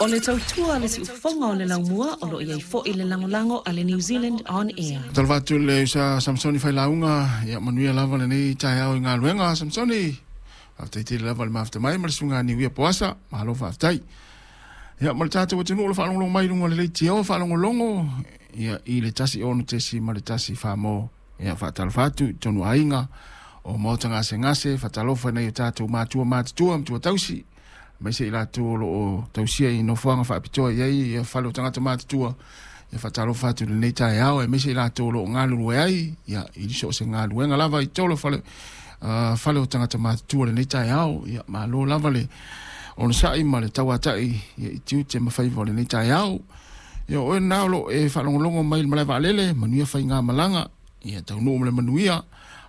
O le tautua a le siufofoga o le laumua o lo o i ai foi le lagolago a le New Zealand On Air. Talofa atu i le usa Samsoni Failauga, ia manuia lava lenei taeao i galuega. Samsoni, faafetai tele lava i le mafuta mai ma le susuga Niuia Poasa, malo faafetai. Ia ma le tatou atunuu o lo o faalogologo mai i luga o le leitio faalogologo ia i le 106.1 Samoa. Ia faatalofa atu i totonu o aiga o maota gasegase, faatalofa i nai o tatou matua matutua, matua tausi, aemaise i latou o lo o tausia i nofoaga faapitoa i ai ia fale o tagata matutua. Ia faatalofa atu i lenei taeao, aemaise i latou o lo o galulue ai ia i so o se galuega lava i totonu o fale, fale o tagata matutua i lenei taeao. Ia malo lava le onosai ma le tauatai ia i tiute ma faiva o lenei taeao. Ia o oe lena o lo o e faalogologo mai i le malae vaalele, manuia faigamalaga, ia taunuu ma le manuia.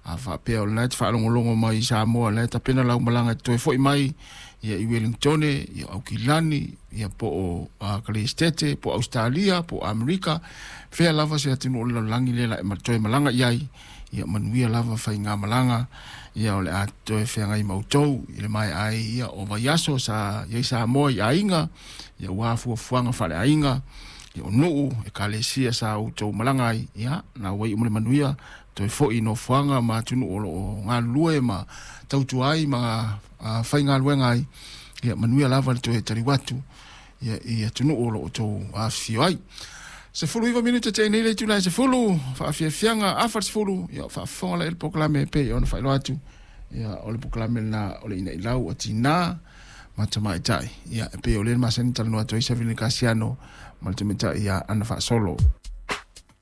A faapea o lena e te faalogologo mai i Samoa, o lena e tapena lau malaga e te toe foi mai ia i Wellingtone, ia Aukilani, ia po o Kaleistete, po o Ausetalia, po o Amerika, fea lava se atunuu o le lalolagi lea la e toe malaga i ai, ia manuia lava faigamalaga, ia o le a toe feagai ma outou i le maea ai ia o vaiaso sa i ai Samoa i aiga, ia ua fuafuaga faaleaiga, ia o nuu, ekalesia sa outou malaga ai, ia na ua iu ma le manuia, toe foi i nofoaga ma atunuu o lo o galulue ma tautua ai ma faigaluega ai, ia manuia lava le toe taliu atu ia i atunuu o lo o outou afifio ai. 19 minute te nei le itula e 10, faafiafiaga afa le 10, ia faafofoga la i le polokalame e pei ona faailoa atu, ia o le polokalame lena o le Inailau a Tinā ma Tamaitai, ia e pei o lea e masani talanoa atu ai Savili Kasiano ma le tamaitai ia Ana Faasolo.